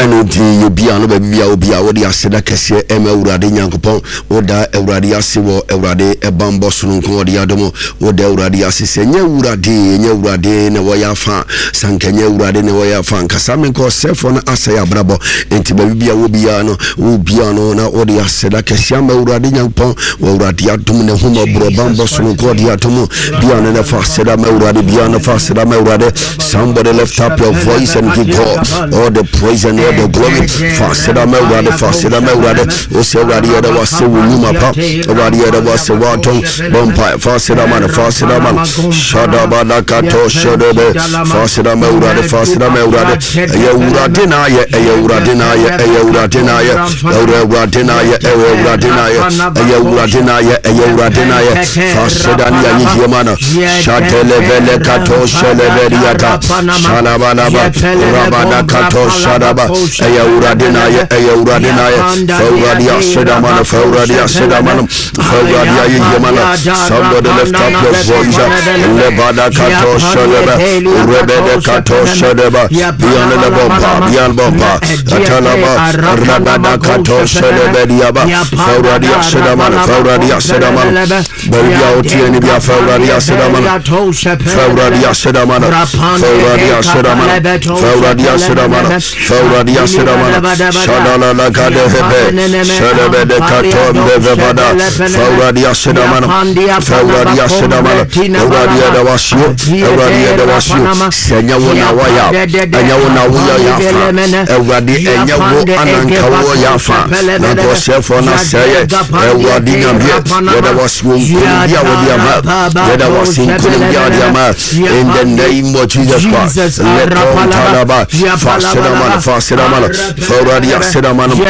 Ɛno nti yɛbia no baabi bia obi a wode aseda kɛseɛ ɛma Awurade Nyankopɔn. Woda Awurade ase wɔ Awurade ɛbanbɔ sononko ɔde adom. Woda Awurade ase sɛ ɛnyɛ Awurade, ɛnyɛ Awurade na ɛwɔ yɛ afa. Sɛ anka ɛnyɛ Awurade na ɛwɔ yɛ afa, anka saa menkɔ ɔsɛefoɔ no asɛe abrabɔ. Enti baabi bia wɔ biara no, wo bia no na wode aseda kɛseɛ ama Awurade Nyankopɔn wɔ Awurade adom ne ahummɔborɔ banbɔ sononko ɔde adom. Bia no na fa aseda ma Awurade, bia no fa aseda ma Awurade. Somebody lift up your voice and give God all the praise and all the glory. Fa aseda ma Awurade, fa aseda ma Awurade. Wo sɛ Awurade yɛda wo ase wo nnwuma pa. Awurade yɛda wo ase w'adom. Bɔ mpae, fa aseda ma no, fa aseda ma no. Shadabadakato shadebe. Fa aseda ma Awurade, fa aseda ma Awurade. Ɛyɛ Awurade na ayɛ, ɛyɛ Awurade na ayɛ, ɛyɛ Awurade na ayɛ. Ɛyɛ Awurade na ayɛ, ɛyɛ Awurade na ayɛ. Ɛyɛ Awurade na ayɛ, ɛyɛ Awurade na ayɛ. Fa aseda ne ayɛyie ma no. Shatelevele kato sheleveliata. Shalabalaba. Rabadakato shadaba. Ɛyɛ Awurade na ayɛ, ɛyɛ Awurade na ayɛ. Fa Awurade aseda ma no, fa Awurade aseda ma no. Fa Awurade ayɛyie ma no. Somebody lift up your voice. Lebada kato shelebe. Rebede kato shadeba. Beyond the bomba, beyond bomba. Atalaba, Rabada kato shelebe diaba. Fa Awurade aseda ma no, fa Awurade aseda ma no. Baabi a woteɛ no bia fa Awurade aseda ma no. Fa Awurade aseda ma no. Fa Awurade aseda ma no. Fa Awurade aseda ma no. Fa Awurade aseda ma no. Shadala la gade hebe. Shelebe de katom de vevada. Fa Awurade aseda ma no. Fa Awurade aseda ma no. Awurade yɛda wo ase o. Awurade yɛda wo ase o. Sɛ ɛnyɛ wo na woayɛ a, ɛnyɛ wo na woyɛ yɛ afa. Awurade ɛnyɛ wo ananka woyɛ yɛ afa. Na nka ɔsɛefoɔ no asɛe yɛ. Awurade Nyame, yɛda wo ase wɔ nkonimdi a wode ama. Yɛda wo ase nkonimdi a wode ama. In the name of Jesus Christ. Lekon talaba. Fa aseda ma no, fa aseda ma no. Fa Awurade aseda ma no. Fa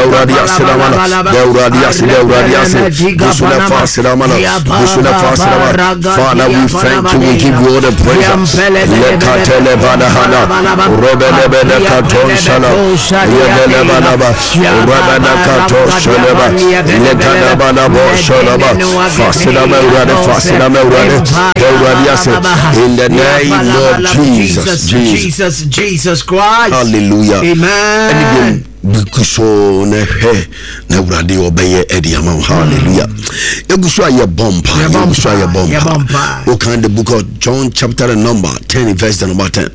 Awurade aseda ma no. Da Awurade ase, da Awurade ase. Gusu na fa aseda ma no. Gusu na fa aseda ma no. Father, we thank you. We give you all the praise. Lekatele badahana. Rebelebele katon shala. Yebele badaba. Rebele kato shaleba. Lekada badabo shalaba. Fa aseda ma Awurade, fa aseda ma Awurade. Da Awurade ase. In the name of Jesus. Jesus. Jesus, Jesus Christ. Hallelujah. Amen. Ɛne biom gu so na hwɛ na Awurade ɔbɛyɛ ɛde ama wo. Hallelujah. Egu so a yɛbɔ mpa. Yɛgu so a yɛbɔ mpa. Wokan the book of John chapter the number 10 verse the number 10.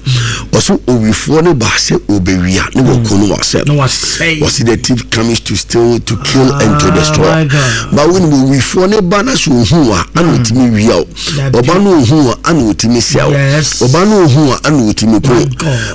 Ɔso owifoɔ no baa sɛ obewia ne wɔku no wasɛ. Wɔsi the thief comes to steal, to kill and to destroy. Ba wonim owifoɔ no ba na so ohun a ana otumi wia o. Ɔba no ohun a ana otumi sɛ o. Ɔba no ohun a ana otumi ko.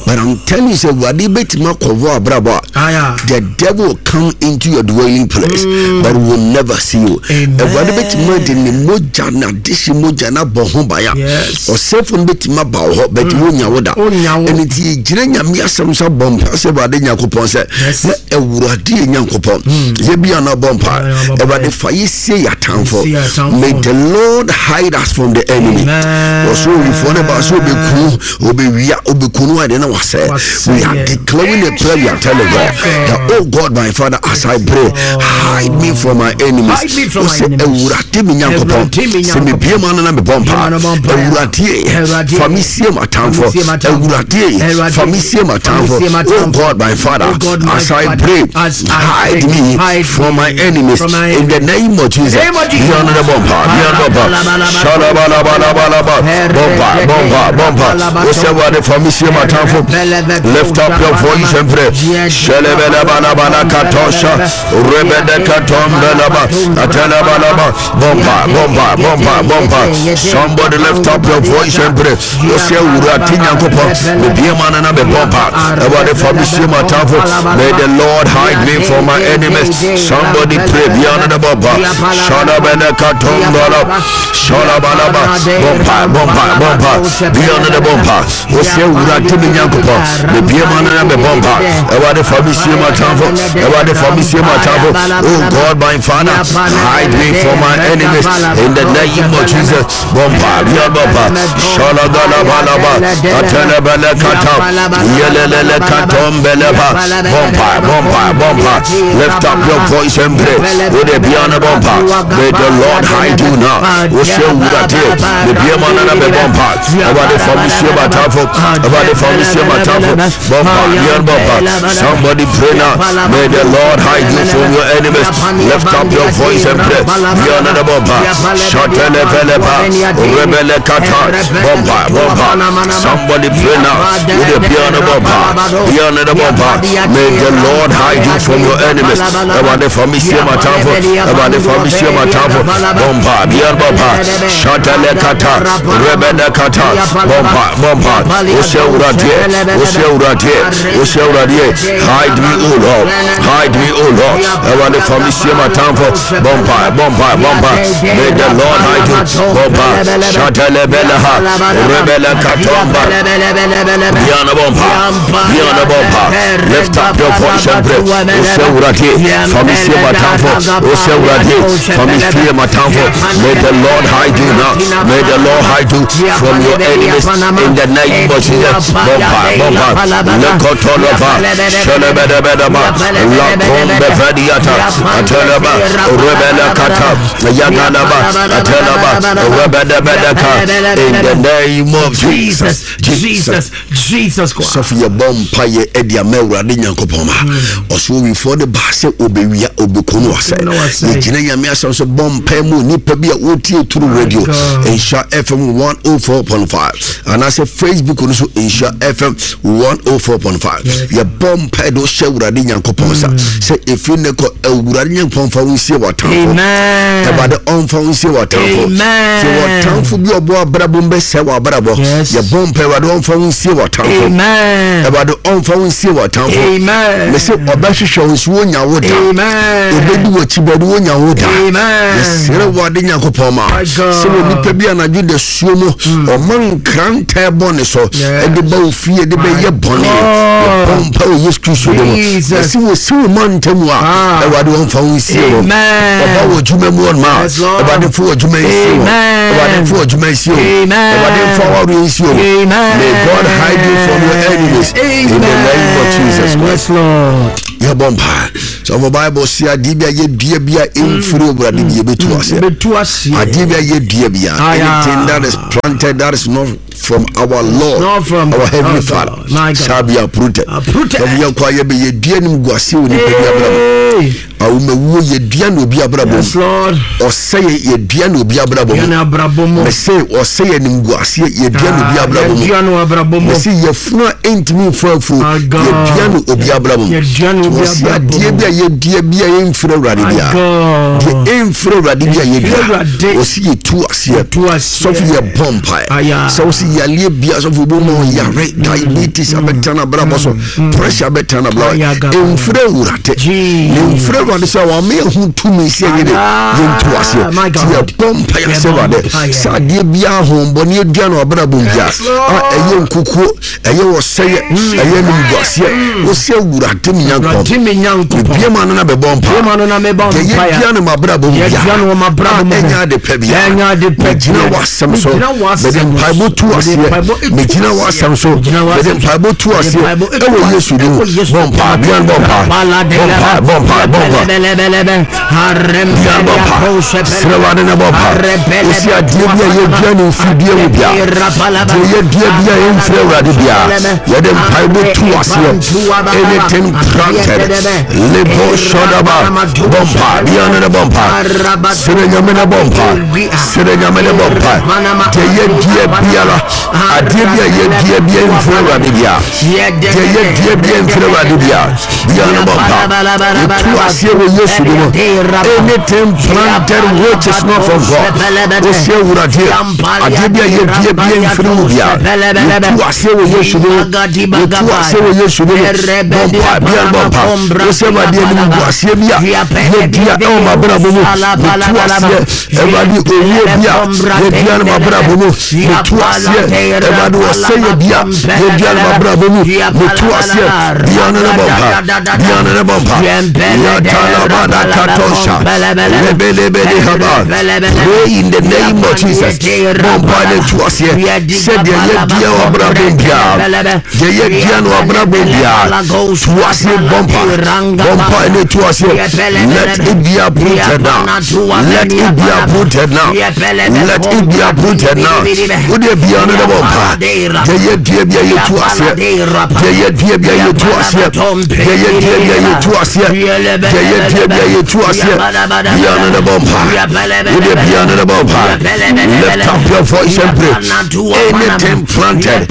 But I'm telling you sɛ Awurade bɛtumi akɔvɔ abrabɔ a the devil will come into your dwelling place but will never see you. Awurade bɛtumi de ne mogya na adehye mogya na abɔ ho ban a ɔsɛefo no bɛtumi aba wo hɔ but wonya wo da. Ɛno nti yɛgyina Nyame asɛm so abɔ mpa sɛ Awurade Nyankopɔn sɛ na Awurade yɛ Nyankopɔn yɛ bia na bɔ mpa Awurade fa yɛ sie yɛ atamfo. May the Lord hide us from the enemy. Wɔso owifoɔ no ba so obɛku obɛwia obɛku no ade na wasɛ. We are declaring a prayer. We are telling God that, oh God my Father, as I pray, hide me from my enemies. Ɔsɛ Awurade me Nyankopɔn sɛ mebie ma no na mebɔ mpa. Awurade fa me sie m'atamfo. Awurade fa me sie m'atamfo. Oh God my Father, as I pray, hide me from my enemies in the name of Jesus. Bia no na bɔ mpa. Bia no bɔ mpa. Shalabalabalabalaba. Bɔ mpa, bɔ mpa, bɔ mpa. Ɔsɛ Awurade fa me sie m'atamfo. Lift up your voice and pray. Shelebelebalabala katosha. Rebede katombelaba. Atelabalaba. Bompa, bompa, bompa, bompa. Somebody lift up your voice and pray. Ɔsɛ Awurade Nyankopɔn. Mebie ma no na mebɔ mpa. Awurade fa me sie m'atamfo. May the Lord hide me from my enemies. Somebody pray. Bia no na bɔ mpa. Shalabele katombala. Shalabalaba. Bompa, bompa, bompa. Bia no na bɔ mpa. Ɔsɛ Awurade me Nyankopɔn. Mebie ma no na mebɔ mpa. Awurade fa me sie. sie m'atamfo. Awurade fa me sie m'atamfo. Oh God, my Father, hide me from my enemies in the name of Jesus. Bompa, Yababa, Shalagalabalaba, Atelebele Kata, Yelele Katombeleba, Bompa, Bompa, Bompa. Lift up your voice and pray. With the Biana Bompa, may the Lord hide you now. Ose Wurade, the Biamana Bompa, Awurade fa me sie m'atamfo, Awurade fa me sie m'atamfo. Bompa, Bian Bompa. Somebody pray now. May the Lord hide you from your enemies. Lift up your voice and pray. Biana Bompa, Shatele Velepa, Rebele Kata, Bompa, Bompa. Somebody pray now. With the Biana Bompa, Biana Bompa. May the Lord hide you from your enemies. Awurade fa me sie m'atamfo, Awurade fa me sie m'atamfo. Bompa, Bian Bompa, Shatele Kata, Rebele Kata, Bompa, Bompa. Ose Awurade, Ose Awurade, Ose Awurade. Hide me, O Lord. Hide me, O Lord. Awurade fa me sie m'atamfo. Bompa, Bompa, Bompa. May the Lord hide you. Bompa, Shatele Beleha, Rebele Katomba. Biana Bompa, Biana Bompa. Lift up your voice and pray. Ose Awurade, fa me sie m'atamfo. Ose Awurade, fa me sie m'atamfo. May the Lord hide you now. May the Lord hide you from your enemies in the name of Jesus. Bompa, Bompa. Lekotolova, Shelebedebedeba, Lakombe Vediata, Ateleba, Rebele Kata, Yagalaba, Atelaba, Rebedebedeka, in the name of Jesus. Jesus, Jesus Christ. Sɔfo yɛbɔ mpaeɛ ɛde ama Awurade Nyankopɔn ma ɔsɛ owifoɔ de baa sɛ obɛwia obɛku no asɛ. Yɛgyina Nyame asɛm so bɔ mpaeɛ mu nnipa bi a wɔtie turu radio Nhyira FM 104.5 anaasɛ Facebook no so Nhyira FM 104.5. Yɛbɔ mpaeɛ de wohyɛ Awurade Nyankopɔn sa sɛ ɛfiri ne kɔ Awurade Nyankopɔn fa wo nsie w'atamfo. Awurade ɔmfa wo nsie w'atamfo. Sɛ w'atamfo bi ɔbɔ abrabɔ mu bɛsɛe w'abrabɔ, yɛbɔ mpaeɛ Awurade ɔmfa wo nsie w'atamfo. Awurade ɔmfa wo nsie w'atamfo. Mese ɔbɛhwehwɛ wo nso wonya wo da. Ɔbɛdi w'akyi bɛde wonya wo da. Yɛsrɛ Awurade Nyankopɔn ma sɛ wɔ nipa bi anadwo da suo mu ɔma nkrantɛ bɔ ne so ɛde ba wo fie de bɛyɛ bɔne. Yɛbɔ mpa wɔ Yesu Kristo de mu. Ɛsi wɔ si wo ma ntam a Awurade ɔmfa wo nsie wɔ. Ɔba wɔ adwuma mu ɔnma Awurade mfa wɔ adwuma nsie wɔ. Awurade mfa wɔ adwuma nsie wɔ. Awurade mfa wɔ awareɛ nsie wɔ. May God hide you from your enemies in the name of Jesus Christ. Yɛbɔ mpa sɛ ɔfɔ Bible si adeɛ bi a yɛdua bi a ɛmfiri Awurade bi yɛbɛtu aseɛ. Adeɛ bi a yɛdua bi a, anything that is planted that is not from our Lord, not from our heavenly our Father, God, my God, shall be uprooted. Uprooted. Sɛ yɛn kɔ a yɛbɛ yɛdua nim gu ase wɔ nipa bi abrabɔ. Hey. Awomawuo yɛdua na obi abrabɔ mu. Yes, Lord. Ɔsɛ yɛ yɛdua na obi abrabɔ Yɛn mu. abrabɔ mu. Mɛsɛ ɔsɛ yɛ nim gu aseɛ yɛdua na obi abrabɔ mu. Yɛdua no abrabɔ mu. Mɛsɛ yɛfunu a ɛntumi nfa afuo My God. yɛdua na obi abrabɔ mu. Yɛdua na obi Wɔsi abrabɔ adeɛ mu. bi a yɛdua bi a yɛmfiri Awurade My bi a. God. Deɛ ɛmfiri Awurade bi a Ɛmfiri yɛdua. Awurade. Wɔsi yɛtu aseɛ. Yɛtu aseɛ. Sɔfo yɛ bɔ mpae. Aya. Sɛ wosi yareɛ bia sɔfo obi ma yare diabetes abɛtena n'abrabɔ so pressure abɛtena n'abrabɔ Aya, God. ɛmfiri Awurade. Jesus. Ne mfiri Awurade sɛ wɔama yɛhu tumi sɛ yɛnyɛ dɛ Aya. yɛntu aseɛ. My Nti God. yɛbɔ mpae sɛ Yɛbɔ Awurade mpaeɛ. sɛ adeɛ biara ahombɔne adua no abrabɔ mu bia Yes, Lord. a ɛyɛ nkukuo ɛyɛ wɔsɛyɛ ɛyɛ nimguaseɛ wosi Awurade me Nyankopɔn Awurade me Nyankopɔn. mebie ma no na bɛbɔ mpa Bie ma no na mebɔ deɛ mpaeɛ. yɛdua no mabrabɔ mu Yɛdua no wɔ m'abrabɔ mu. ɛnyɛ ade pɛ bia Ɛnyɛ ade pɛ megyina bia. w'asɛm so Megyina w'asɛm mede mpaebɔ tu so. Mede aseɛ mpaebɔ tu megyina aseɛ. w'asɛm so Megyina w'asɛm mede so. mpaebɔ tu Mede aseɛ mpaebɔ tu ɛwɔ aseɛ. Yesu din mu Ɛwɔ Yesu bɔ mpa din mu. bia bɔ mpa bɔ mpa bɔ mpa bɔ mpa bia bɔ mpa serɛ w'ade na bɔ mpa wosi adeɛ bi a yɛdua no mfidie mu bia deɛ yɛdua bi a yɛmfiri Awurade bia yɛde mpaebɔ tu aseɛ. Anything planted lebo sɔdaba bɔ mpa bia no ne bɔ mpa serɛ Nyame na bɔ mpa serɛ Nyame ne bɔ mpa deɛ yɛdua biara adeɛ bi a yɛdua bia mfiri Awurade bia deɛ yɛdua bia mfiri Awurade bia bia no bɔ mpa yɛtu aseɛ wɔ Yesu din mu. Anything planted which is not from God, wosi Awurade adeɛ bi a yɛdua bia mfiri mu bia yɛtu aseɛ wɔ Yesu din mu yɛtu aseɛ wɔ Yesu din mu bɔ mpa bia bɔ mpa wosi Awurade anim gu aseɛ bi a yɛdua ɛwɔ m'abrabɔ mu yɛtu aseɛ Awurade owuo bi a yɛdua no m'abrabɔ mu yɛtu aseɛ Awurade ɔsɛeɛ bi a yɛdua no m'abrabɔ mu yɛtu aseɛ bia no ne bɔ mpa. Bia no ne bɔ mpa. Yatalabada katosha. Lebelebele haba. Pray in the name of Jesus. Bɔ mpa ne tu aseɛ. Sɛdeɛ yɛdua wɔ abrabɔ mu biara. Deɛ yɛdua no abrabɔ mu biara. Tu aseɛ bɔ mpa. Bɔ mpa ne tu aseɛ. Let it be uprooted now. Let it be uprooted now. Let it be uprooted now. Wodeɛ bia no ne bɔ mpa. Deɛ yɛdua bia yɛtu aseɛ. Deɛ yɛdua bia yɛtu aseɛ. Deɛ yɛdua bia yɛtu aseɛ. Deɛ yɛdua bia yɛtu aseɛ. Bia no ne bɔ mpa. Wodeɛ bia no ne bɔ mpa. Lift up your voice and pray. Anything planted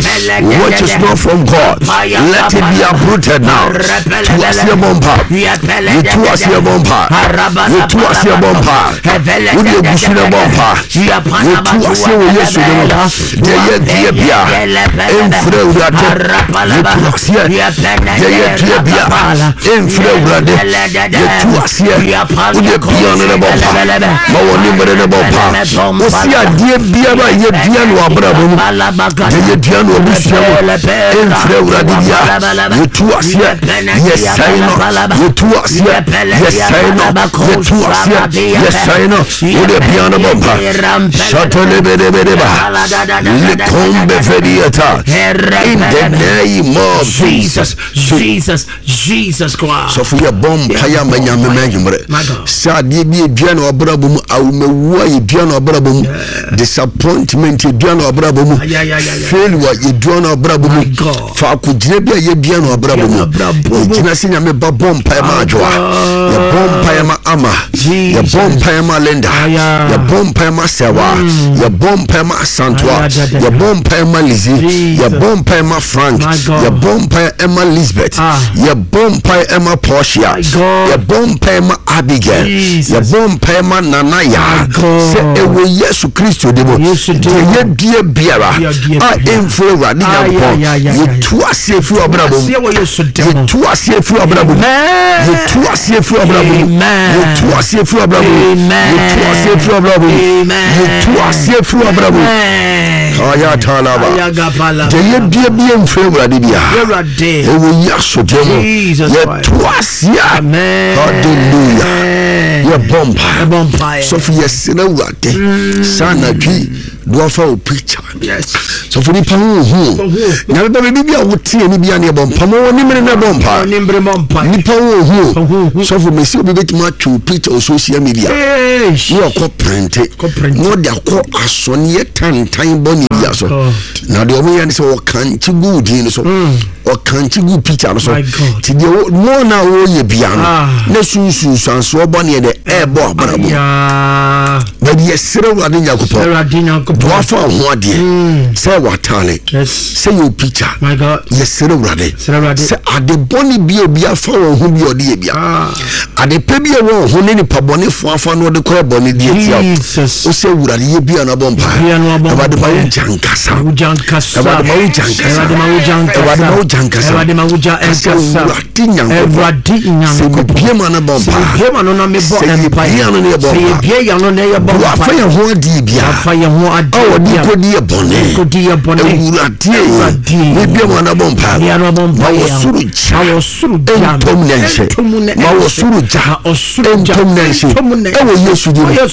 which is not from God, let it be uprooted now. Tu aseɛ bɔ mpa. Yɛtu aseɛ bɔ mpa. Yɛtu aseɛ bɔ mpa. Wodeɛ gusu ne bɔ mpa. Yɛtu aseɛ wɔ Yesu ne mu. Deɛ yɛdua bia ɛmfiri Awurade. Yɛtu aseɛ. Deɛ yɛdua bia ɛmfiri Awurade. Yɛtu aseɛ. Wodeɛ bia no ne bɔ mpa. Ma wɔn ne mmere ne bɔ mpa. Wosi adeɛ biara a yɛdua no abrabɔ mu. Deɛ yɛdua no abusua mu ɛmfiri Awurade bia. Yɛtu aseɛ. Yɛsɛe no. Yɛtu aseɛ. Yɛsɛe no. Yɛtu aseɛ. Yɛsɛe no. Wodeɛ bia no bɔ mpa. Shatolebelebeleba. Likombefediata. In the name of Jesus. Jesus, Jesus Christ. Sɔfo yɛ bɔ mpaeɛ ama Nyame ma anwummerɛ sɛ adeɛ bi ɛdua na wabrabɔ mu, awomawuo a yɛdua na wabrabɔ mu, disappointment yɛdua na wabrabɔ mu, failure yɛdua na wabrabɔ mu, faako gyina bi a yɛdua na wabrabɔ mu, yɛgyina sɛ Nyame ba bɔ mpaeɛ ma Adwoa, yɛbɔ mpaeɛ ma Ama, yɛbɔ mpaeɛ ma Linda, yɛbɔ mpaeɛ ma Sɛwa, yɛbɔ mpaeɛ ma Asantoa, yɛbɔ mpaeɛ ma Lizzie, yɛbɔ mpaeɛ ma Frank, yɛbɔ mpaeɛ ɛma Lisbeth, yɛbɔ mpaeɛ ɛma Portia, yɛbɔ mpaeɛ ma Abigail, yɛbɔ mpaeɛ ma Nana Yaa, sɛ ɛwɔ Yesu Kristo de mu, deɛ yɛdua biara a ɛmfiri Awurade Nyankopɔn, yɛtu aseɛ firi ɔbrabɔ mu, yɛtu aseɛ firi ɔbrabɔ mu, yɛtu aseɛ firi ɔbrabɔ mu, yɛtu aseɛ firi ɔbrabɔ mu, yɛtu aseɛ firi ɔbrabɔ mu, yɛtu aseɛ firi ɔbrabɔ mu. Ayatalaba. Deɛ yɛdua bi mfiri Awurade biara. Ɛwɔ yi asodie mu. Yɛto aseɛ. Hallelujah. Yɛbɔ mpae. Sɔfo yɛsrɛ Awurade. Saa anadwo do afa wo picture. Sɔfo nipa ho hu. Nyame ba baabi bi a woteɛ ne bia ne yɛbɔ mpa ma wɔne mmere na ɛbɔ mpa. Nipa ho hu. Sɔfo mesi obi bɛtumi atwe wo picture wɔ social media. Ne ɔkɔ printe. Na ɔde akɔ asɔneɛ tantan bɔne bia so. Na deɛ ɔmo yɛ ne sɛ ɔkankye gu wo din no so. Ɔkankye gu picture no so. Ti deɛ mo na wɔyɛ bia no. Na sunsunsansoɔ bɔne dɛ ɛɛbɔ abrabɔ. Baabi yɛsrɛ Awurade Nyankopɔn. Boa fa wo ho adeɛ. Sɛ w'ataale. Sɛ yɛ picture. Yɛsrɛ Awurade. Sɛ ade bɔne bi a obi afa wɔn ho bi a ɔde yɛ bia. Ade pɛ bi a ɛwɔ wo ho ne nipa bɔnefoɔ afa no ɔde kɔyɛ bɔne de atia wo. Wo sɛ Awurade yɛ bia na bɔ mpa. Awurade ma wo gya nkasa. Awurade ma wo gya nkasa. Awurade ma wo gya nkasa. Ka sɛ Awurade Nyankopɔn. Sɛ mebie ma no bɔ mpa. Sɛ yɛbie ano na yɛbɔ mpa. Wafa yɛn ho adeɛ bia. A wɔde kɔdi yɛ bɔne. Awurade mebie ma no bɔ mpa. Ma wɔ soro gya. Ntom na nhyɛ. Ma wɔ soro gya ntom na nhyɛ. Ɛwɔ Yesu din mu. Yɛ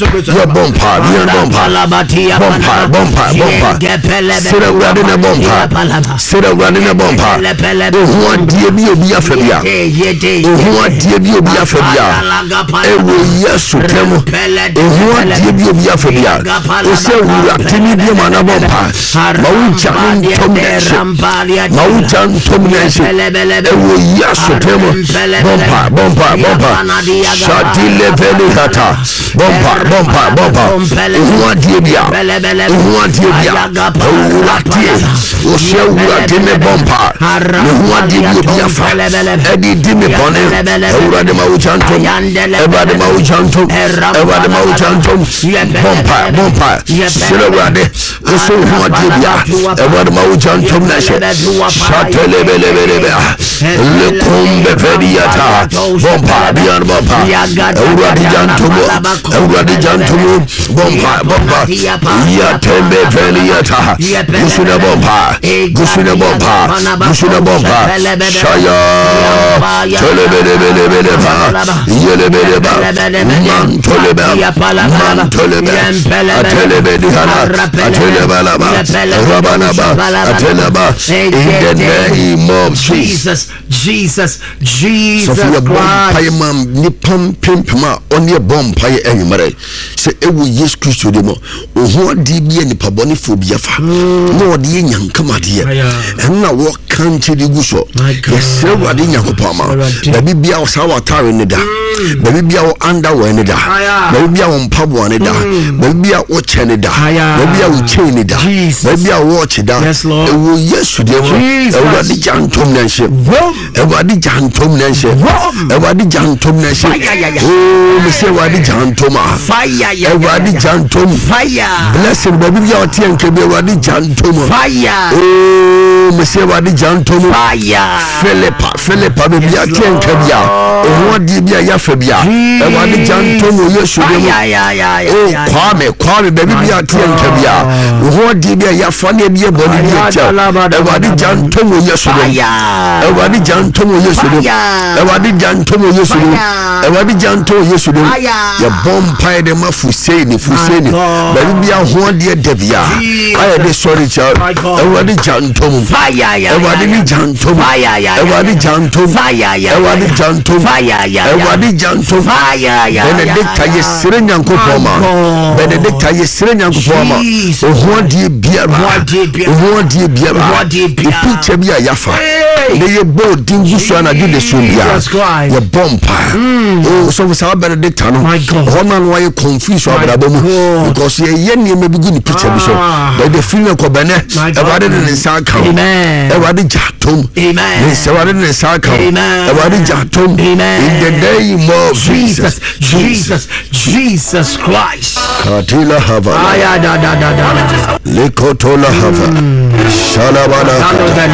bɔ mpa, yɛ bɔ mpa. Bɔ mpa, bɔ mpa, bɔ mpa. Srɛ Awurade na bɔ mpa. Srɛ Awurade na bɔ mpa. Ohu adeɛ bi obi afa bi a. Ohu adeɛ bi obi afa bi a. Ɛwɔ Yesu din mu. Ohu adeɛ bi obi afa bi a. Ɔsɛ Awurade ne bi ma na bɔ mpa. Ma wo gya no ntom na nhyɛ. Ma wo gya ntom na nhyɛ. Ɛwɔ Yesu din mu. Bɔ mpa, bɔ mpa, bɔ mpa. Shadi leveli hata. Bɔ mpa, bɔ mpa, bɔ mpa. Ohu adeɛ bi a. Ohu adeɛ bi a. Awurade. Ɔsɛ Awurade me bɔ mpa. Mehu adeɛ bi obi afa. Ɛde di me bɔne. Awurade ma wo gya ntom. Awurade ma wo gya ntom. Awurade ma wo gya ntom. Bɔ mpa, bɔ mpa. Srɛ Awurade. Wosɛ wo ho adeɛ bi a. Awurade ma wo gya ntom na hyɛ. Shatelebelebelebe. Lekombe vediata. Bompa bian bompa. Awurade gyantomu. Awurade gyantomu. Bompa bompa. Yatembe veliata. Gusuna bompa. Gusuna bompa. Gusuna bompa. Shaya. Tolebelebelebeleba. Yelebeleba. Mantoleba. Mantoleba. Atelebedihana. Atelebalaba. Rabanaba. Ateleba. In the name of Jesus. Jesus, Jesus, Sɔfo yɛ bɔ Christ. mpaeɛ ma nnipa mpempem a ɔne ɛbɔ mpaeɛ anwummerɛ sɛ ɛwɔ Yesu Kristo de mu ɔho adeɛ bi a nipa bɔnefoɔ bi afa na ɔde yɛ nyankamadeɛ ɛno na wɔka nkyɛ de gu so. Yɛsrɛ Awurade Nyankopɔn ama baabi bia wɔ saa w'atare ne da, baabi bia wɔ underwear ne da, baabi bia wɔ mpaboa ne da, baabi bia wɔ kyɛ ne da, baabi bia wɔ chain ne da, baabi bia wɔ watch da, ɛwɔ Yesu deɛ mu. Awurade gya ntom na nhyɛ. Awurade gya ntom na nhyɛ. Awurade gya ntom na nhyɛ. Oo mesɛ Awurade gya ntom a. Awurade gya ntom. Blessing baabi bia ɔteɛ nka bi Awurade gya ntom. Oo mesɛ Awurade gya ntom. Philippa Philippa baabi a teɛ nka bi a ɔho adeɛ bi a yɛafa bi a Awurade gya ntom wɔ Yesu din mu. O Kwame Kwame baabi bi a teɛ nka bi a ɔho adeɛ bi a yɛafa ne ɛbi yɛ bɔne bi akyɛ Awurade gya ntom wɔ Yesu din mu. Awurade gya ntom wɔ Yesu din mu. Awurade gya ntom wɔ Yesu din mu. Awurade gya ntom wɔ Yesu din mu. Yɛbɔ mpaeɛ de ma Fuseni Fuseni baabi bi a ho adeɛ da bi a ayɛ de sɔre kyɛ Awurade gya ntom. Awurade ne gya ntom. Awurade gya ntom. Awurade gya ntom. Awurade gya ntom. Benedicta yɛsrɛ Nyankopɔn ma. Benedicta yɛsrɛ Nyankopɔn ma. Oho adeɛ biara. Oho adeɛ biara. Picture bi a yɛafa. Na yɛbɔ odin gu so anadwo de so biara. Yɛbɔ mpa. O sɔfo saa Benedicta no. Hɔ na no ayɛ confuse wɔ abrabɔ mu. Because yɛyɛ nneɛma bi gu ne picture bi so. But the feeling kɔ bɛnɛ. Awurade de ne nsa aka wo. Awurade gya tom. Ne nsa Awurade de ne nsa aka wo. Awurade gya tom. In the name of Jesus. Jesus, Jesus Christ. Katila hava. Aya da da da da da. Lekotola hava. Shalabala kata.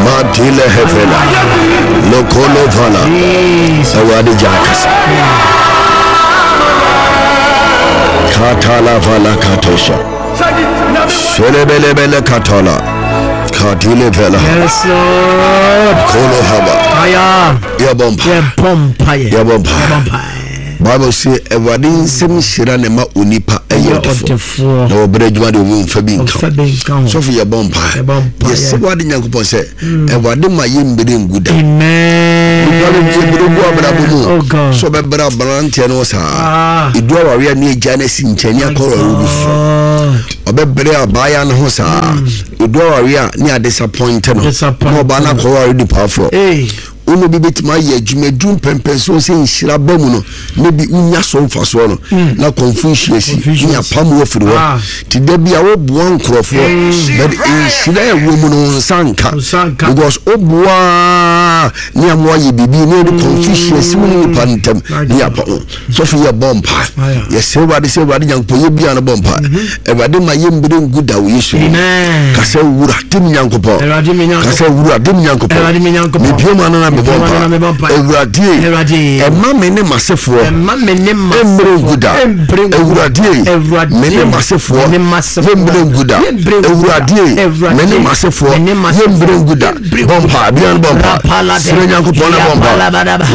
Matile hefela. Lokolo vala. Awurade gya akasa. Katala vala katosha. Shelebelebele katala. Katile vela. Yes, Lord. Kolo hava. Aya. Yɛbɔ mpa. Yɛbɔ mpaeɛ. Yɛbɔ mpa. Yɛbɔ mpaeɛ. Bible se Awurade nsɛm nhyira na ɛma onipa ɛyɛ ɔdefoɔ na wɔbrɛ adwuma de obi mfa bi nka ho. Sɔfo yɛbɔ mpaeɛ. Yɛsɛ Awurade Nyankopɔn sɛ Awurade ma yɛ mmere ngu da. Nipa no yɛbrɛ gu abrabɔ mu Oh, sɛ ɔbɛbrɛ aberanteɛ no saa ɛdu awareɛ ne agya no asi nkyɛn ne akɔ awareɛ bi fo ɔbɛbrɛ abaaya no ho saa ɛdu awareɛ a ne adisappoint no na ɔbaa no akɔ awareɛ nipa foforɔ. Wo ne obi bɛtumi ayɛ adwuma aduru mpɛmpɛnsoɔ sɛ nhyira ba mu no na bi wonya so mfasoɔ no na confusion asi ne apam wo afiri hɔ Ah. nti da bi a woboa nkurɔfoɔ but nhyira a ɛwɔ mu no wo nsa nka nsa nka. Because woboa ne ama woayɛ biribi na ɛde confusion asi wo ne nipa no ntam ne apam wo. Sɔfo yɛ bɔ mpa yɛsrɛ Awurade sɛ Awurade Nyankopɔn yɛ bia no bɔ mpa Awurade ma yɛ mbere ngu da wɔ Yesu mu. Kasɛ wura de me Nyankopɔn, kasɛ wura de me Nyankopɔn, mebie mu ano na mebɔ mpa Awurade ɛma me ne masefoɔ mbere ngu da Awurade me ne masefoɔ yɛ mbere ngu da Awurade me ne masefoɔ yɛ mbere ngu da. Bɔ mpa bia no bɔ mpa srɛ Nyankopɔn na bɔ mpa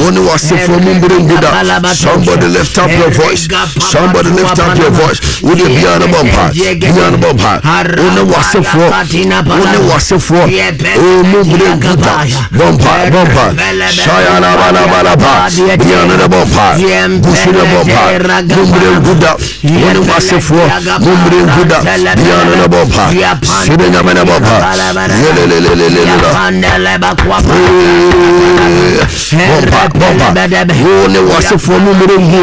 wo ne w'asefoɔ mu mbere ngu da. Somebody lift up your voice, somebody lift up your voice. Wo de bia no bɔ mpa bia no bɔ mpa wo ne w'asefoɔ wo ne w'asefoɔ o mu mbere ngu da. Bɔ mpa bɔ mpa shayalabalabalaba bia no ne bɔ mpa gusu ne bɔ mpa mu mbere ngu da wo ne w'asefoɔ mu mbere ngu da bia no ne bɔ mpa srɛ Nyame ne bɔ mpa yelelelelelele bɔmpa bɔmpa wo ne w'asefoɔ mu mmerɛ ngu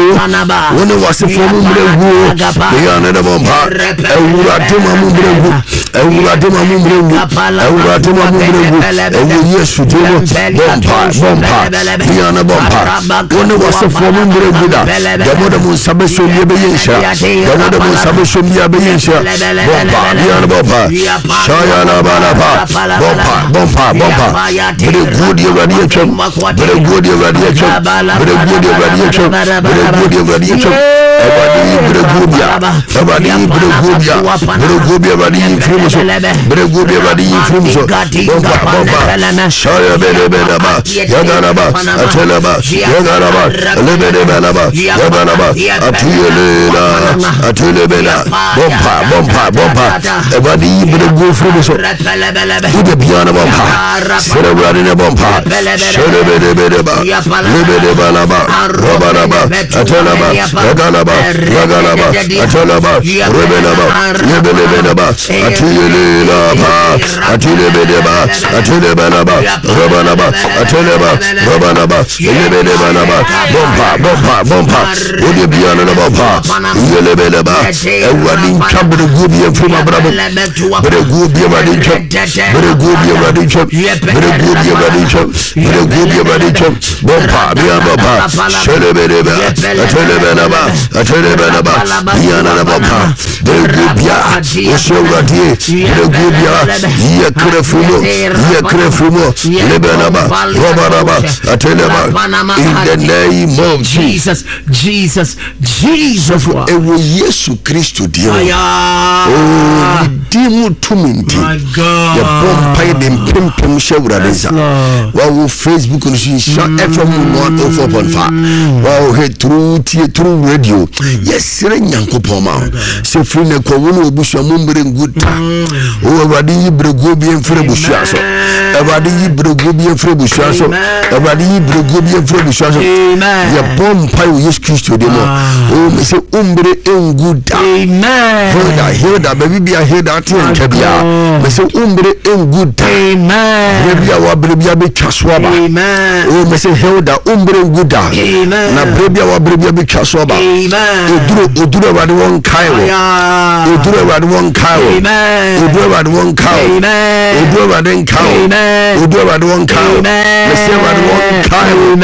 wo ne w'asefoɔ mu mmerɛ ngu bia no ne bɔ mpa Awurade ma mu mmerɛ ngu Awurade ma mu mmerɛ ngu Awurade ma mu mmerɛ ngu ɛwɔ Yesu din mu. Bɔ mpa mpa bɔ mpa bia no bɔ mpa wo ne wasefoɔ mo mmerɛ gu da deɛ mode mo nsa bɛsom bia bɛyɛ nhyira deɛ mode mo nsa bɛsom bia bɛyɛ nhyira bɔ mpa bia no bɔ mpa shayalabalaba bɔ mpa bɔ mpa bɔ mpa bere guo deɛ awurade atwam bere guo deɛ awurade atwam bere guo deɛ awurade atwam bere guo deɛ awurade atwam awurade yi bere guo bia awurade yi bere guo bia bere guo bia awurade yi mfiri mu so bere guo bia awurade yi mfiri mu so bɔ mpa bɔ mpa shaya bere bere ba yagaraba atelaba yagaraba lebere balaba yabalaba atuyelela atelebela bɔ mpa bɔ mpa bɔ mpa awurade yi bere guo firi mu so wode bia no bɔ mpa srɛ awurade ne bɔ mpa hyɛrebedebedeba lebedebalaba rɔbalaba atelaba yagalaba yagalaba atelaba rebelaba yebelebeleba atuyelelaba atulebedeba atulebalaba rɔbalaba ateleba rɔbalaba yebedebalaba bɔ mpa bɔ mpa bɔ mpa wode bia no ne bɔ mpa yelebeleba awurade ntwa bereguo bi amfiri mabrabɔ bereguo bi awurade ntwam bereguo bi awurade ntwam bereguo bi awurade ntwam bereguo bi awurade ntwam bɔ mpa bia bɔ mpa hyɛlebeleba atelebeleba atelebeleba bia no ne bɔ mpa bereguo bia wɔhyɛ awurade bereguo bia yɛ kra firi mu yɛ kra firi mu lebeleba rɔbalaba ateleba in the name of Jesus Jesus, Jesus, Jesus. Ɛwɔ Yesu Kristo din mu. Oh, ne din mu tumi nti. Yɛbɔ mpae de mpempem hyɛ Awurade nsa. Wawo Facebook no so nhyira FM 104.5. Wawo hwɛ through tie through radio. Yɛsrɛ Nyankopɔn ma wo. Sɛ firi ne kɔ wo ne w'abusua mu mmere ngu da. O Awurade yi berɛguo bi mfiri abusua so. Awurade yi berɛguo bi mfiri abusua so. Awurade yi berɛguo bi mfiri abusua so. Yɛbɔ mpae wɔ Yesu Kristo din mu. O mese wommere ngu da. Hilda, Hilda, baabi bia Hilda ate nka bia. Mese wommere ngu da. Berɛ bi a wabere bi abɛtwa so aba. O mese Hilda, wommere ngu da. Na berɛ bi a wabere bi abɛtwa so aba. Oduro, oduro Awurade wɔn nkae wo. Oduro Awurade wɔn nkae wo. Oduro Awurade wɔn nkae wo. Oduro Awurade nkae wo. Oduro Awurade wɔn nkae wo. Mese Awurade wɔn nkae wo.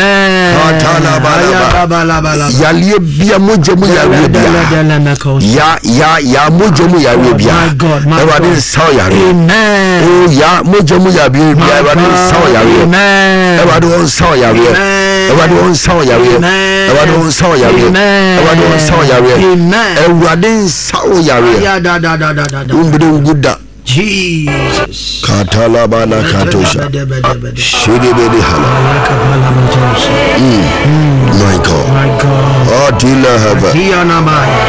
Katalabalaba. Yareɛ bia mogya mu yareɛ bia. Ya ya ya mogya mu yareɛ bia. Awurade nsa wo yareɛ. O ya mogya mu yareɛ bia Awurade nsa wo yareɛ. Awurade wɔn nsa wo yareɛ. Awurade wɔn nsa wo yareɛ. Awurade wɔn nsa wo yareɛ. Awurade wɔn nsa wo yareɛ. Awurade nsa wo yareɛ. Wombere ngu da. Jesus. Katalabana katosha. Shidibidi hala. My God. My God. Adila hava. Dianamaya.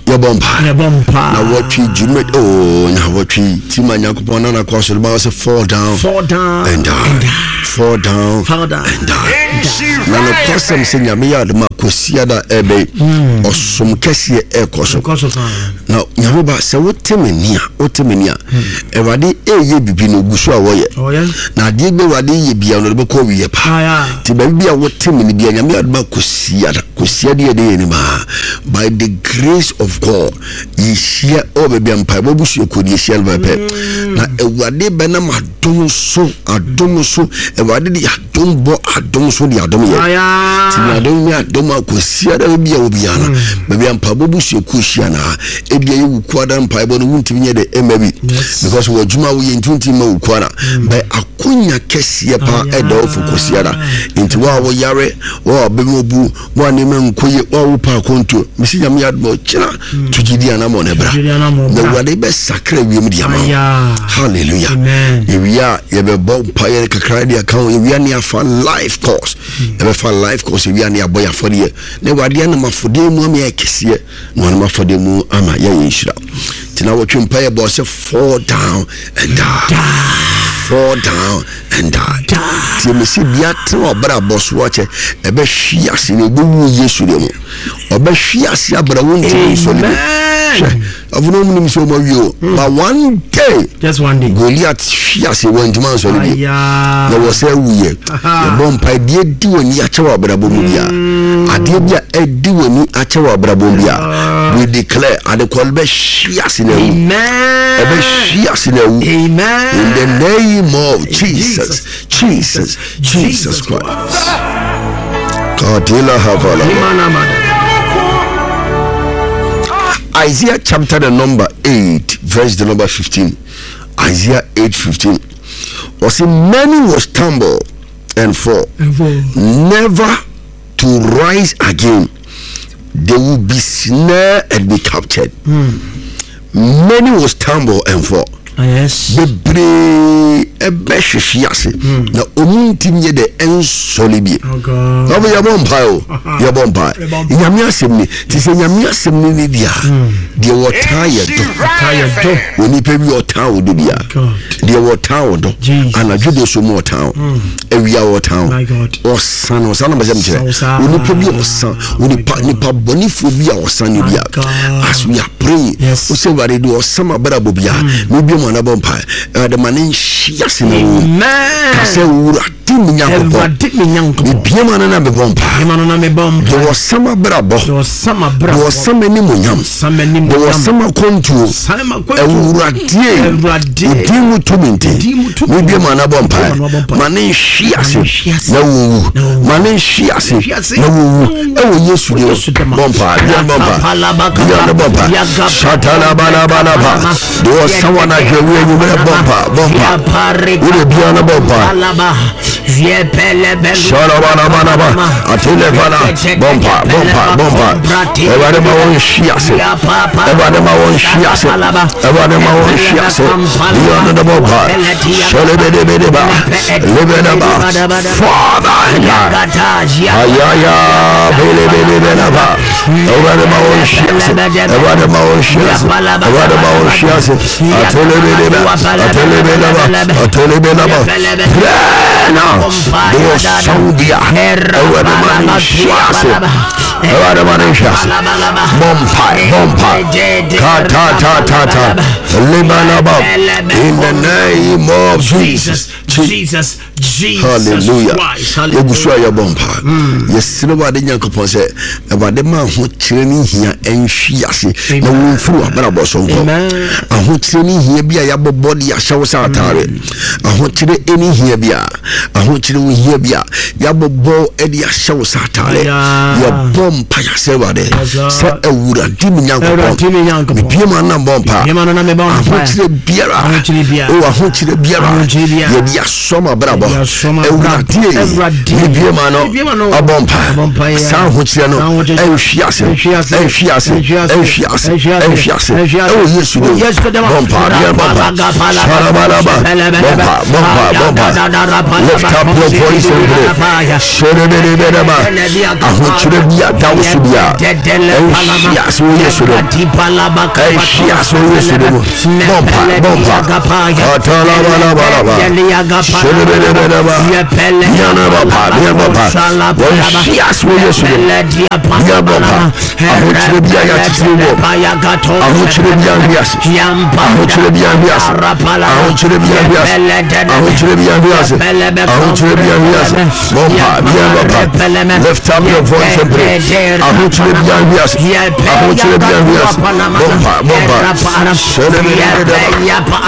Yɛbɔ mpa. Yɛbɔ mpa. Na wɔtwe dwuma oh na wɔtwe ti ma Nyankopɔn na nakɔ asɔre ba sɛ fall down. Fall down. And die. And die. Fall down. Fall down. And die. Na nokwasɛm sɛ Nyame yɛ adom a Kwasiada ɛbɛyi ɔsom kɛseɛ ɛkɔ so. Ɛkɔ so paa. Na Nyame ba sɛ wote me nne a wote me nne a Awurade ɛyɛ bibi no ogu so a wɔyɛ. Ɔyɛ. Na adeɛ bi Awurade yɛ bia no ɔde bɛkɔ awieɛ paa. Aya. Nti baabi bi a wote me no bia Nyame yɛ adom a Kwasiada Kwasiada yɛ de yɛ anim a by the grace of God yɛhyia ɛwɔ baabi a mpaebɔ abusuakuo no yɛhyia no pɛpɛ. Na Awurade bɛnam adom so adom so Awurade de adom bɔ adom so de adom yɛ. Aya. Nti na adom ne adom a Kwasiada baabi a obiara no baabi a mpaebɔ busuakuo hyia no a ebia yɛ wukuada mpaebɔ no wontumi nyɛ de ɛmma bi Yes. because wɔ adwuma a woyɛ nti wontumi ma wukuada bɛ akonya kɛseɛ paa ɛda wo fo Kwasiada. Nti wo a woyare wo a wabɛmu obu wo a nneɛma nkɔ yie wo a wopɛ akɔntuo mesi Nyame yɛ adom a ɔkyena to gyidi anammɔn no bra To gyidi anammɔn na bra. Awurade bɛsakra wiem de ama wo. Aya. Hallelujah. Amen. Yɛwie a yɛbɛbɔ mpaeɛ kakra de aka ho yɛwie a ne afa life course yɛbɛfa life course yɛwie a ne abɔ yɛ afɔdeɛ na Awurade anam afɔdeɛ mu ama yɛ kɛseɛ na ɔnam afɔdeɛ mu ama yɛayɛ nhyira nti na wɔtwe mpaeɛ bɔ sɛ fall down and die fall down and die nti mesi bia tena ɔbrabɔ so akyɛ ɛbɛhwe ase na ɛbɛwu Yesu deɛ mu ɔbɛhwe ase abra wo ntumi nsɔre bi Amen. hwɛ. Afei na ɔmo nim sɛ ɔmo awie o. But one day. Just one day. Goliath hwi ase wɔntumi ansɔre bio. Na wɔ sɛ wuyɛ. Yɛbɔ mpae deɛ di w'ani akyɛ wɔ abrabɔ mu bia. Adeɛ bi a ɛdi w'ani akyɛ wɔ abrabɔ mu bia. We declare adekɔ no bɛhwi ase na awu. Ɛbɛhwi ase na awu. In the name of Jesus, Jesus, Jesus Christ. Kadila havala. Isaiah chapter the number 8, verse the number 15. Isaiah 8 15. Ɔse many will stumble and fall, never to rise again. They will be snared and be captured. Many will stumble and fall. Ah, yes. Bebree ɛbɛhwehwe ase hmm. na ɔmu ntimi yɛ dɛ ɛnsɔre bie. Oh, Ɔbɛ yɛbɔ mpae o yɛbɔ mpae. Nyame asɛm ni te sɛ nyame asɛm ni ne deɛ hmm. deɛ wɔtaa yɛ dɔ. Onipa bi ɔtaa wo dɔ bia deɛ wɔtaa wo dɔ anadwo de so mu ɔtaa wo hmm. awia wɔtaa wo ɔsan ɔsan na bɛsɛ mekyerɛ onipa bi ɔsan onipa nipa bɔnefoɔ bi a ɔsan ne bia as we are praying wosɛ awurade deɛ ɔsan ma brabɔ bia mebia mu anabɔ mpa ɛwurade ma ne nhyia se na wo kasɛ wura Awurade me Nyankopɔn, mebue m'ano na mebɔ mpae. Deɛ ɔsa m'abrabɔ, deɛ ɔsa m'animuonyam, deɛ ɔsa m'akwantuo, Awurade, wo din mu tumi nti, mebue m'ano abɔ mpae. Ma ne nhwe ase na wɔnwu, ma ne nhwe ase na wɔnwu, ɛwɔ Yesu din mu. Bɔ mpae, bia bɔ mpae, bia bɔ mpae. Shatalabalaba. Deɛ ɔsa wɔn ahwɛ wo anwummerɛ bɔ mpa bɔ mpa wode bia no bɔ mpa shalabalabalaba atelefala bɔ mpa bɔ mpa bɔ mpa Awurade ma wɔn nhwi ase Awurade ma wɔn nhwi ase Awurade ma wɔn nhwi ase bia no bɔ mpa shalebedebedeba lebedaba Father ayaya belebelebelaba Awurade ma wɔn nhwi ase Awurade ma wɔn nhwi ase Awurade ma wɔn nhwi ase atelebeleba atelebeleba atelebeleba pray now de wɔ sɔn bia Awurade ma ne nhwi ase Awurade ma ne nhwi ase bɔ mpae bɔ mpae katatatata lebalaba in the name of Jesus Jesus Jesus Hallelujah. Christ. Yɛgu so a yɛbɔ mpa. Hmm. Yɛsrɛ Awurade Nyankopɔn sɛ Awurade ma ahokyerɛ ne hia nhwi ase na wɔmfiri w'abrabɔ so nkɔ. Ahokyerɛ ne hia bi a yɛabɔbɔ de ahyɛ wo sɛ ataare. Hmm. Ahokyerɛ ne hia bi a ahokyerɛ wo hia bi a yɛabɔbɔ de ahyɛ wo sɛ ataare. Yɛbɔ mpa yɛsrɛ Awurade sɛ Awurade me Nyankopɔn mebie mu anam bɔ mpa. Ahokyerɛ biara o ahokyerɛ biara yɛde asɔ m'abrabɔ awurade mebie ma no abɔ mpa saa ahokyerɛ no ɛnhwe ase ɛnhwe ase ɛnhwe ase ɛnhwe ase ɛwɔ yesu dim bɔ mpa deɛ bɔ mpa sarabalaba bɔ mpa bɔ mpa bɔ mpa lift up your voice and pray sɛrɛbɛrɛbɛrɛba ahokyerɛ bi a da wo so bi a ɛnhwe ase wɔ yesu dim ɛnhwe ase wɔ yesu dim Bɔmpa, bɔmpa. Atalabalaba. Shedebedebedeba. Yanabapa, yanabapa. Wɔnhwe ase wɔ Yesu dim. Yanabapa. Ahokyerɛ bi a yɛakyekyere wɔ. Ahokyerɛ bi ahwe ase. Ahokyerɛ bi ahwe ase. Ahokyerɛ bi ahwe ase. Ahokyerɛ bi ahwe ase. Ahokyerɛ bi ahwe ase. Bɔmpa, yanabapa. Lift up your voice and pray. Ahokyerɛ bi ahwe ase. Ahokyerɛ bi ahwe ase. Bɔmpa, bɔmpa.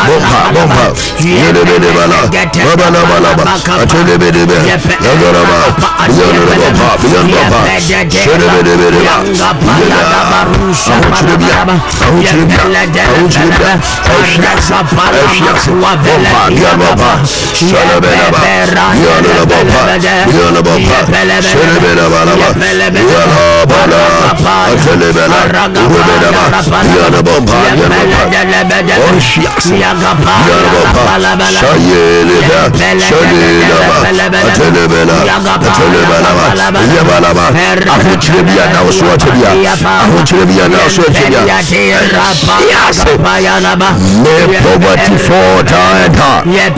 Bɔmpa, bɔmpa. Yedebedebala. Babalabalaba. Atelebedebe. Yagoraba. Biyonobɔmpa, biyonobɔmpa. Shedebedebedeba. Yeda. Ahokyerɛ bi a. Ahokyerɛ bi a. Ahokyerɛ bi a. Ɛhwe ase. Ɛhwe ase. Bɔmpa, biyonobɔmpa. Shedebedeba. Biyonobɔmpa. Biyonobɔmpa. Shedebedebala. Yalabala. Atelebela. Rubedaba. Biyonobɔmpa, biyonobɔmpa. Ɔnhwe ase. Biyonobɔmpa. Shayeleba. Shalelaba. Atelebela. Atelebelaba. Yabalaba. Ahokyerɛ bi a na wo so akyɛ bi a. Ahokyerɛ bi a na wo so akyɛ bi a. Ɛnhwe ase. May poverty fall down and down. May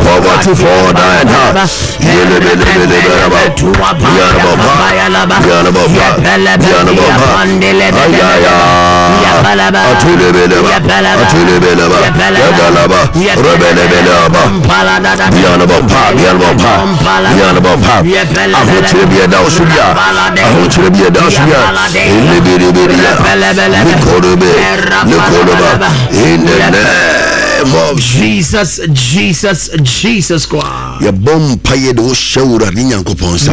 poverty fall down and down. Ahokyere bi ɛda wo so bia, ahokyere bi ɛda wo so bia, elebelebelea, lekorobe, lekoroba, in the name of Jesus, Jesus, Jesus Christ. Yɛbɔ mpaeɛ de wo hyɛ Awurade Nyankopɔn nsa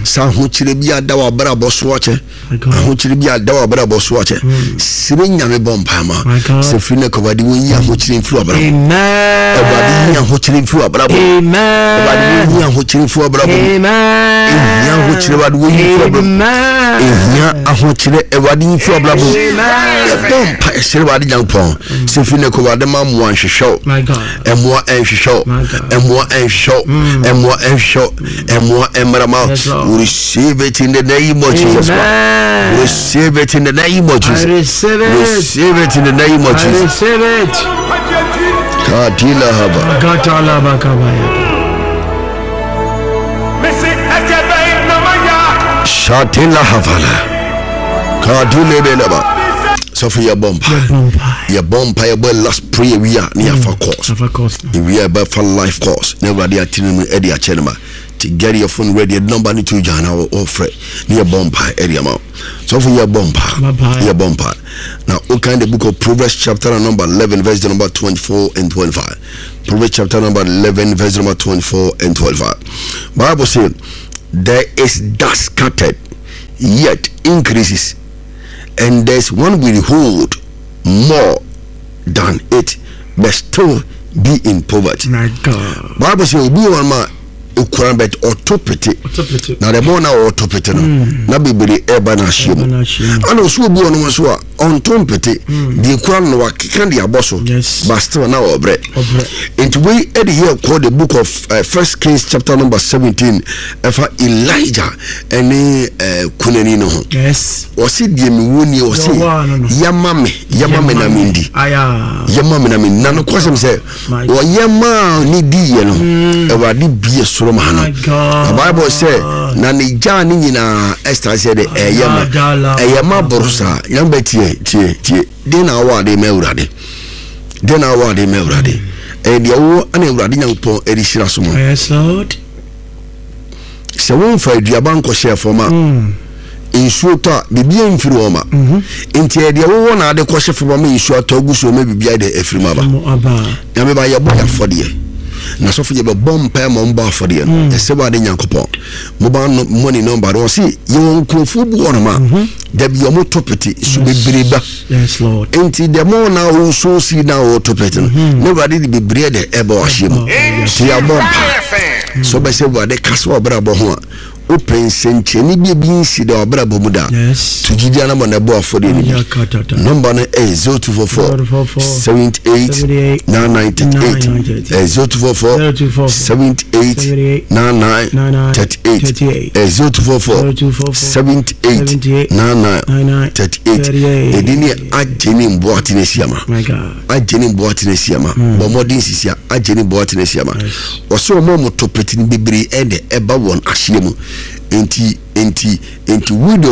sɛ ahokyerɛ bi ada w'abrabɔ so akyɛ, ahokyerɛ bi ada w'abrabɔ so akyɛ. Srɛ Nyame, bɔ mpae ma sɛ firi no kɔ Awurade wɔnyi ahokyerɛ mfiri w'abrabɔ. Awurade yi ahokyerɛ mfiri w'abrabɔ. Awurade wɔnyi ahokyerɛ mfiri w'abrabɔ. Ehia ahokyerɛ, Awurade wɔnyi mfiri w'abrabɔ. Ehia ahokyerɛ, Awurade yi mfiri w'abrabɔ. Yɛbɔ mpae srɛ Awurade Nyankopɔn sɛ firi no kɔ Awurade ma mmoa nhwehwɛ wo, ɛmmoa ɛnhwehwɛ wo, ɛmmoa ɛnhwehwɛ wo, ɛmmoa ɛnhwehwɛ wo, ɛmmoa ɛmmarama. Receive it in the name of Jesus Christ. Receive it in the name of Jesus. Receive it. Receive it in the name of Jesus. Receive it. Kadila haba. Gatala bakabaya. Shatila havala. Kadile belaba. Sɔfo, yɛbɔ mpa, yɛbɔ mpa, yɛbɔ last prayer wi a ne yɛafa course ewia yɛbɛfa life course na Awurade atene mu ɛde akyɛ no ma. To get your phone ready, yɛde number no to dwa na wɔfrɛ ne yɛbɔ mpa ɛde ama wo. Sɔfo, yɛbɔ mpa, yɛbɔ mpa na wokan the Book of Proverbs chapter number 11 verse number 24 and 25. Proverbs chapter number 11 verse number 24 and 25, Bible say there is dust scattered, yet increases, and there's one will hold more than it, but still be in poverty. My God. Bible say obi wɔ ma ekura, but ɔto pete, na the more na ɔto pete no, na bebree ɛba na ahyia mu. Ɛna ɔso obi wɔ no nso a ɔnto mpete, deɛ ekura no wakeka de abɔ so, but still na ɔbrɛ. Nti wei ɛde yɛ kɔ the Book of First Kings chapter number 17, ɛfa Elijah ɛne kunani no ho. Ɔsi deɛ mi wo nie, ɔsi yɛma me, yɛma me na mi ndi, yɛma me na mi na no kɔsɛm sɛ ɔyɛ maa ne di yɛ no, Awurade bie soro ma no. Na Bible sɛ na ne gyaa ne nyinaa ɛsta sɛ de ɛyɛ ma, ɛyɛ ma boro saa. Nyame bɛ tie, tie, tie. Den na awɔ ade ma Awurade, den na awɔ ade ma Awurade, ɛyɛ deɛ wowɔ ɛna Awurade Nyankopɔn ɛde hyira so ma. Sɛ womfa aduaba nkɔhyɛ fam a, nsuo tɔ a, biribi mfiri hɔ ma. Nti ɛyɛ deɛ wowɔ na ade kɔhyɛ fam ama nsuo atɔ agu so ma biribi ayɛ dɛ afiri mu aba. Nyame ba, yɛbɔ yɛ afɔdeɛ na sɔfo yɛbɛbɔ mpae ma ɔmbɔ afɔdeɛ no. Ɛsɛ wɔ ade Nyankopɔn mobile no money number no. Ɔse yɛwɔ nkurɔfoɔ bi wɔ no ma dabi ɔmo to pete so bebree ba. Nti the more na wo so si na wo to pete no, na Awurade de bebree dɛ ɛbɔ wahyɛ mu. Nti yɛabɔ mpa sɛ wobɛsɛ Awurade kasa wɔ abrabɔ ho a, wopɛ nsɛnkyerɛnne bi ebi nsi da wabrabɔ mu da to gyidi anamɔ na ɛbɔ afɔdeɛ no bi. Number no ɛyɛ 0244 78 99 38, ɛyɛ 0244 78 99 38, ɛyɛ 0244 78 99 38. Ɛdi ne agye ne mboa tene asiama, agye ne mboa tene asiama. Bɔ mmɔden sisi a agye ne mboa tene asiama. Ɔsɛ ɔmo a ɔmo to pete no bebree ɛde ɛba wɔn ahyia mu. Nti widow.